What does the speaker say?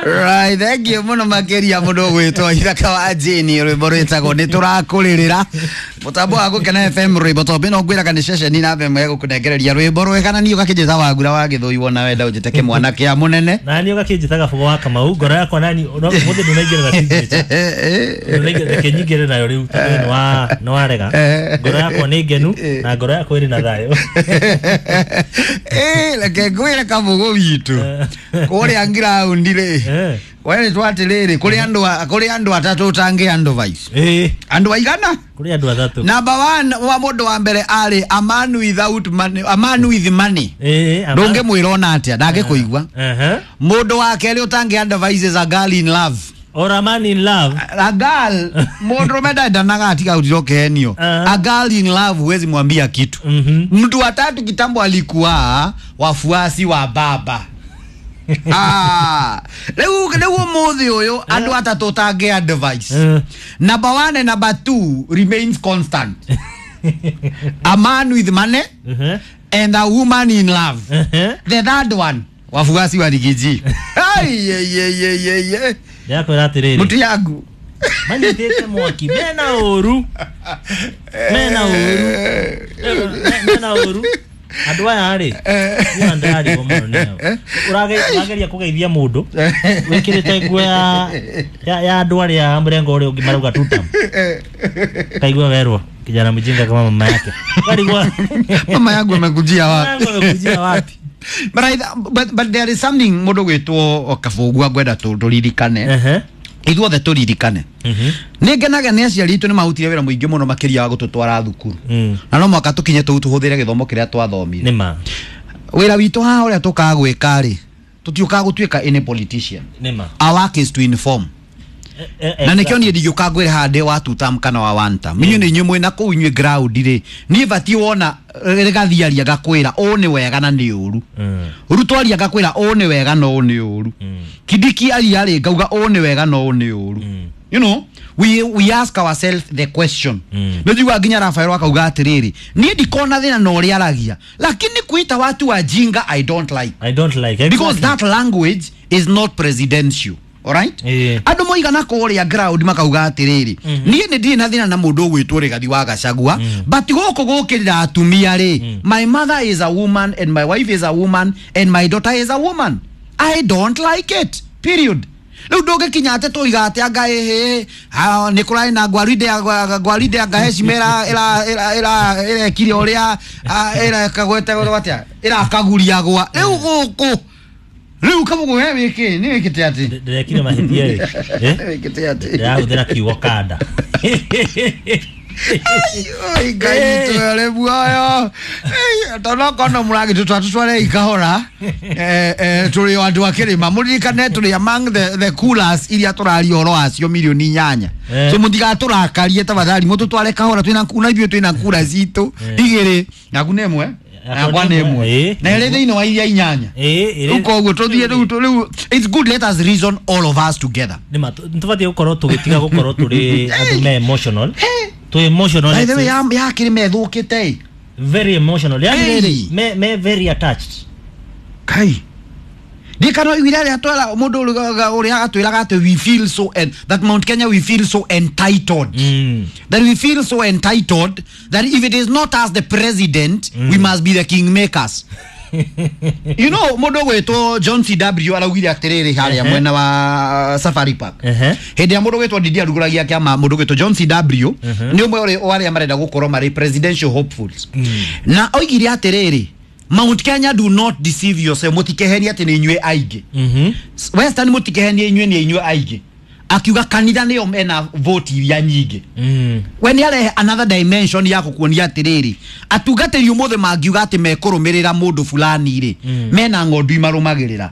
Right, thank you muno makiria mundu gwitwo Ithaka wa Jane, rwimbo rwitagwo ni turakuririra. Mutambo wa Gukena FM, rwimbo tombi no ngwiraga ni ceceni na FM egũkũnengereria rwimbo rwega, na niĩ ũgakĩnjĩta Wangura wa Gĩthũi, wona wenda ũnjĩte kĩmwana kĩa mũnene. Na niĩ ũgakĩnjĩtaga Bogo wa Kamau. Ngoro yakwa nani no mũthĩ ndũnaingĩra na signature. Ndũnaingĩra, reke nyingĩre nayo rĩu tondũ nĩ warega. Ngoro yakwa nĩ ngenu na ngoro yakwa ĩrĩ na thayũ. Reke ngwĩre Kabugu witũ kũrĩa ground rĩ, we nĩ twatĩrĩrĩ, kũrĩ andũ atatũ ũtangĩ advice. Andũ aigana? Kũrĩ andũ atatũ. Number one, wa mũndũ wa mbere arĩ a man without money, a man with money. Ndũngĩmwĩra ona atĩa, ndangĩkũigua. Mũndũ wa kerĩ ũtangĩ advice is a girl in love. Or a man in love. A girl, mũndũrũme ndendanaga, atiga ũtirokenio. A girl in love huwezi mwambia kitu. Mtu wa tatu kitambo alikuwa wafuasi wa baba. Ah, rĩu ũmũthĩ ũyũ andũ atatũ ũtangĩ advice. Number one and number two remains constant: a man with money and a woman in love. The third one, wafuasi wa Riggy G. Ai, ye, ye, ye, ye, ye. Ndĩrakwĩra atĩrĩrĩ, Mtu yangu manyitĩte mwaki, mena ũru, mena ũru, mena ũru andũ aya rĩ. Niĩ ndĩrarigwo mũno nĩo. Ũrageria kũgeithia mũndũ wĩkĩrĩte nguo ya andũ arĩa mũrengo ũrĩa ũngĩ marauga tutam, kaigua werwo kijana mjinga kama mama yake, karigwa. Mama yangu amekujia wapi? Yangu amekujia wapi? But there is something mũndũ gwĩtwo Kabũgua ngwenda tũririkane. Ithuothe tũririkane. Nĩ ngenaga nĩ aciari aitũ nĩ mahutire wĩra mũingĩ mũno makĩria wa gũtũtwara thukuru, na no mwaka tũkinye tũu tũhũthĩre gĩthomo kĩrĩa twathomire. Nĩ ma. Wĩra witũ haha ũrĩa tũkaga gwĩka rĩ, tũtiũkaga gũtuĩka any politician. Nĩ ma. Our work is to inform, na nĩkĩo niĩ ndingĩũka ngwĩre haha ndĩ wa two term kana wa one term. Inyuĩ nĩ inyuĩ mwĩna kũu inyuĩ ground rĩ, niĩ batiĩ wona rĩgathiaria ngakwĩra ũũ nĩ wega na nĩ ũru. Ruto aria ngakwĩra ũũ nĩ wega na ũũ nĩ ũru. Kindiki aria rĩ, ngauga ũũ nĩ wega na ũũ nĩ ũru. We ask ourselves the question. Nĩ njiguaga nginya Rafael akauga atĩrĩrĩ, niĩ ndikona thĩna na ũrĩa aragia, lakini kuita watu wajinga I don't like. I don't like. Because that language is not presidential. Alright? Andũ moigana kũrĩa ground makauga atĩrĩrĩ, niĩ nĩ ndirĩ na thĩna na mũndũ ũgwĩtwo Rigathi wa Gachagua, but gũkũ gũkĩrĩra atumia rĩ, my mother is a woman and my wife is a woman and my daughter is a woman, I don't like it, period. Rĩu ndũngĩkinya atĩ tũiga atĩ anga ĩhĩ nĩ kũrarĩ na gwaride gwaride, anga heshima ĩrekire ũrĩa ĩrekagwetagwo atĩa, ĩrakaguria gwa rĩu gũkũ rĩu Kabugu we wĩkĩ nĩ wĩkĩte atĩ? Ndĩrekire mahĩtia rĩ? Eh? Wĩkĩte atĩ? Ndĩrahũthĩra kiugo kanda. Oi, Ngai twere muoyo. Tondũ okorwo no mũragĩtũtwara, tũtware kahora. Tũrĩ o andũ a kĩrĩma, mũririkane tũrĩ among the coolers iria tũraria ũhoro wacio 8 milioni. So mũtigatũrakarie, tafadhali mũtũtware kahora. Twĩna na ithuĩ twĩna kura citũ igĩrĩ, naku nĩ ĩmwe, yakwa nĩ ĩmwe, na ĩrĩ thĩinĩ wa iria inyanya. Rĩu koguo tũthiĩ rĩu it's good, let us reason all of us together. Nĩ ma tũbatiĩ gũkorwo tũgĩtiga gũkorwo tũrĩ andũ me emotional, tũ emotional. By the way, ya kĩrĩma ĩthũkĩte ĩ. Very emotional, yani Hey. rĩrĩ me very attached. Kai, ndikano iguire arĩa twera mũndũ ũrĩa atwĩraga atĩ we feel so and that Mount Kenya, we feel so entitled, that we feel so entitled that if it is not us the president, we must be the kingmakers. Mũndũ ũgwĩtwo John CW araugire atĩrĩrĩ harĩa mwena wa Safari Park, hĩndĩ ĩrĩa mũndũ ũgwĩtwo Ndindi arugũragia kĩama, mũndũ ũgwĩtwo John CW nĩ ũmwe wa arĩa marenda gũkorwo marĩ presidential hopefuls, na oigire atĩrĩrĩ, "Mount Kenya, do not deceive yourself, mũtikeherie atĩ nĩ inyuĩ aingĩ. Western, mũtikehenie inyuĩ nĩ inyuĩ aingĩ." Akiuga kanitha nĩyo mena vote iria nyingĩ. We nĩ arehe another dimension ya gũkuonia atĩrĩrĩ, atungatĩri ũmũthĩ mangiuga atĩ mekũrũmĩrĩra mũndũ fulani rĩ, mena ng'ondu imarũmagĩrĩra.